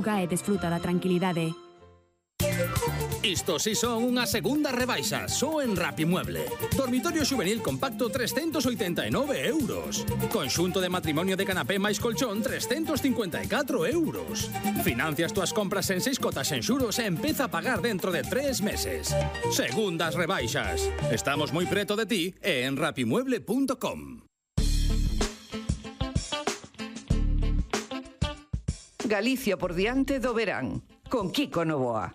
E desfruta da tranquilidade. Isto si son unha segunda rebaixa, só en Rapimueble. Dormitorio xuvenil compacto 389 euros. Conxunto de matrimonio de canapé máis colchón 354 euros. Financias túas compras en 6 cotas en xuros e empeza a pagar dentro de 3 meses. Segundas rebaixas. Estamos moi preto de ti e en rapimueble.com. Galicia por diante do verán, con Kiko Novoa.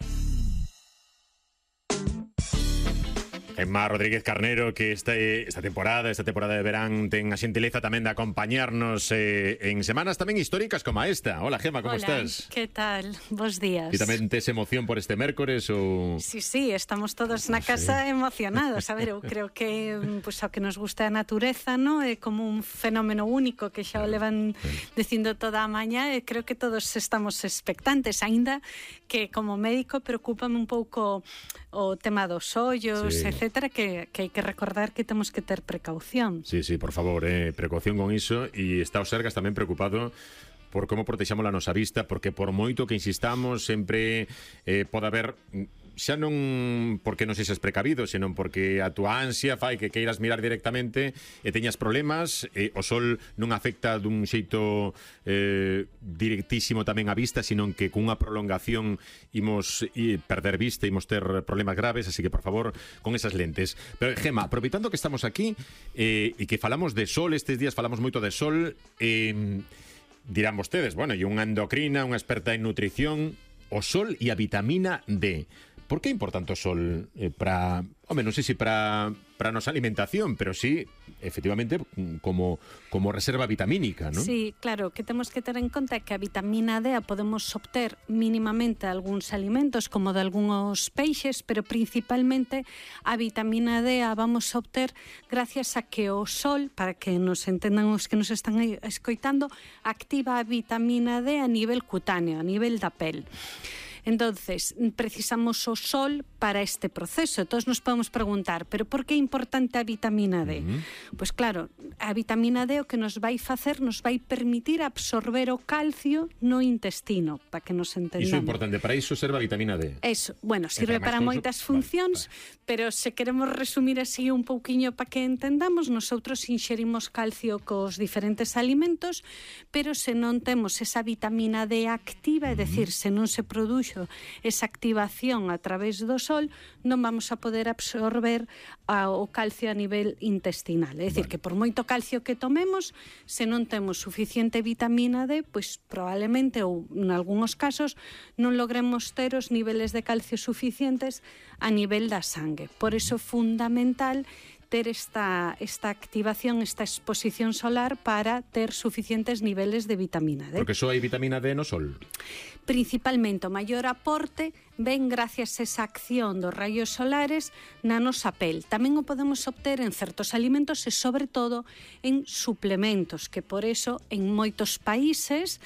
Emma Rodríguez Carnero, que esta temporada de verán ten a xentileza tamén de acompañarnos en semanas tamén históricas como esta. Hola, Gemma, como estás? Que tal? Bos días. E tamén tes emoción por este mércores ou... Sí, estamos todos na casa emocionados. A ver, eu creo que pues, ao que nos gusta a natureza, no? É como un fenómeno único que xa o levan dicindo toda a mañá e creo que todos estamos expectantes, aínda que como médico preocúpame un pouco o tema dos ollos, etcétera, que hai que recordar que temos que ter precaución. Sí, por favor, precaución con iso, e está o Sergas tamén preocupado por como protexamos a nosa vista, porque por moito que insistamos sempre pode haber, xa non porque non sexas precavido, senón porque a túa ansia fai que queiras mirar directamente e teñas problemas. O sol non afecta dun xeito directísimo tamén a vista, senón que cunha prolongación imos perder vista, imos ter problemas graves, así que por favor con esas lentes. Pero Gemma, aproveitando que estamos aquí e que falamos de sol, estes días falamos moito de sol, dirán vostedes, bueno, e unha endocrina, unha experta en nutrición, o sol e a vitamina D. Por que é importante o sol para, non sei se para a nosa alimentación, pero sí, efectivamente, como reserva vitamínica, non? Sí, claro, que temos que ter en conta que a vitamina D a podemos obter mínimamente de algúns alimentos, como de algúns peixes, pero principalmente a vitamina D a vamos a obter gracias a que o sol, para que nos entendan os que nos están escoitando, activa a vitamina D a nivel cutáneo, a nivel da pel. Entonces, precisamos o sol para este proceso. Todos nos podemos preguntar, pero por que é importante a vitamina D? Pois claro, a vitamina D o que nos vai facer, nos vai permitir absorber o calcio no intestino, para que nos entendamos. Iso é importante, para iso serve a vitamina D. Eso, bueno, sirve para moitas funcións, pero se queremos resumir así un pouquiño para que entendamos, nosotros inxerimos calcio cos diferentes alimentos, pero se non temos esa vitamina D activa, é dicir, se non se produxo esa activación a través do sol, non vamos a poder absorber o calcio a nivel intestinal. É dicir, que por moito calcio que tomemos, se non temos suficiente vitamina D, pois probablemente, ou en algúns casos, non logremos ter os niveles de calcio suficientes a nivel da sangue. Por iso é fundamental ter esta activación, esta exposición solar para ter suficientes niveles de vitamina D. Porque só hai vitamina D no sol? Principalmente o maior aporte ven gracias a esa acción dos raios solares na nosa pel. Tamén o podemos obter en certos alimentos e sobre todo en suplementos, que por eso en moitos países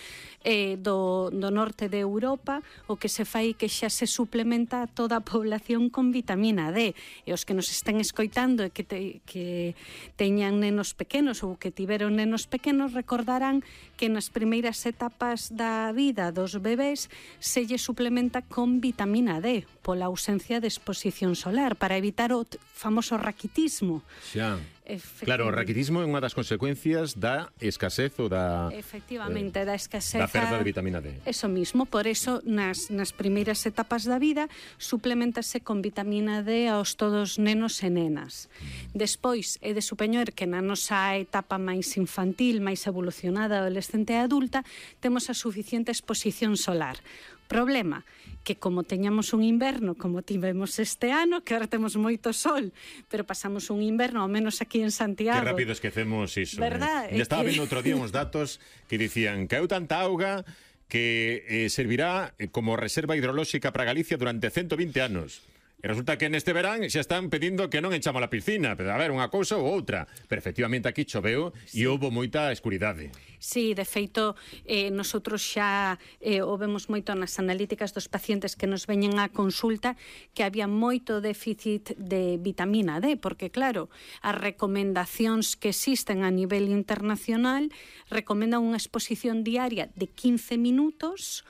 do norte de Europa o que se fai que xa se suplementa a toda a población con vitamina D. E os que nos estén escoitando e que teñan nenos pequenos ou que tiveron nenos pequenos recordarán que nas primeiras etapas da vida dos bebés se lle suplementa con vitamina D pola ausencia de exposición solar para evitar o famoso raquitismo. Xa. Claro, o raquitismo é unha das consecuencias da escasez ou da... Efectivamente, da escasez... Da perda de vitamina D. Eso mismo, por eso nas primeiras etapas da vida suplementase con vitamina D aos todos nenos e nenas. Despois, é de supoñer que na nosa etapa máis infantil, máis evolucionada, adolescente e adulta, temos a suficiente exposición solar. Problema, que como teñamos un inverno como tivemos este ano, que ahora temos moito sol, pero pasamos un inverno, ao menos aquí en Santiago. Que rápido esquecemos iso. Verdad? Estaba vendo outro día uns datos que dicían que hai tanta auga que servirá como reserva hidrolóxica para Galicia durante 120 anos. E resulta que neste verán xa están pedindo que non enchamos a piscina, pero a ver, unha cousa ou outra. Pero efectivamente aquí choveu e houbo moita escuridade. Sí, de feito, nosotros xa o vemos moito nas analíticas dos pacientes que nos veñen á consulta que había moito déficit de vitamina D, porque claro, as recomendacións que existen a nivel internacional recomendan unha exposición diaria de 15 minutos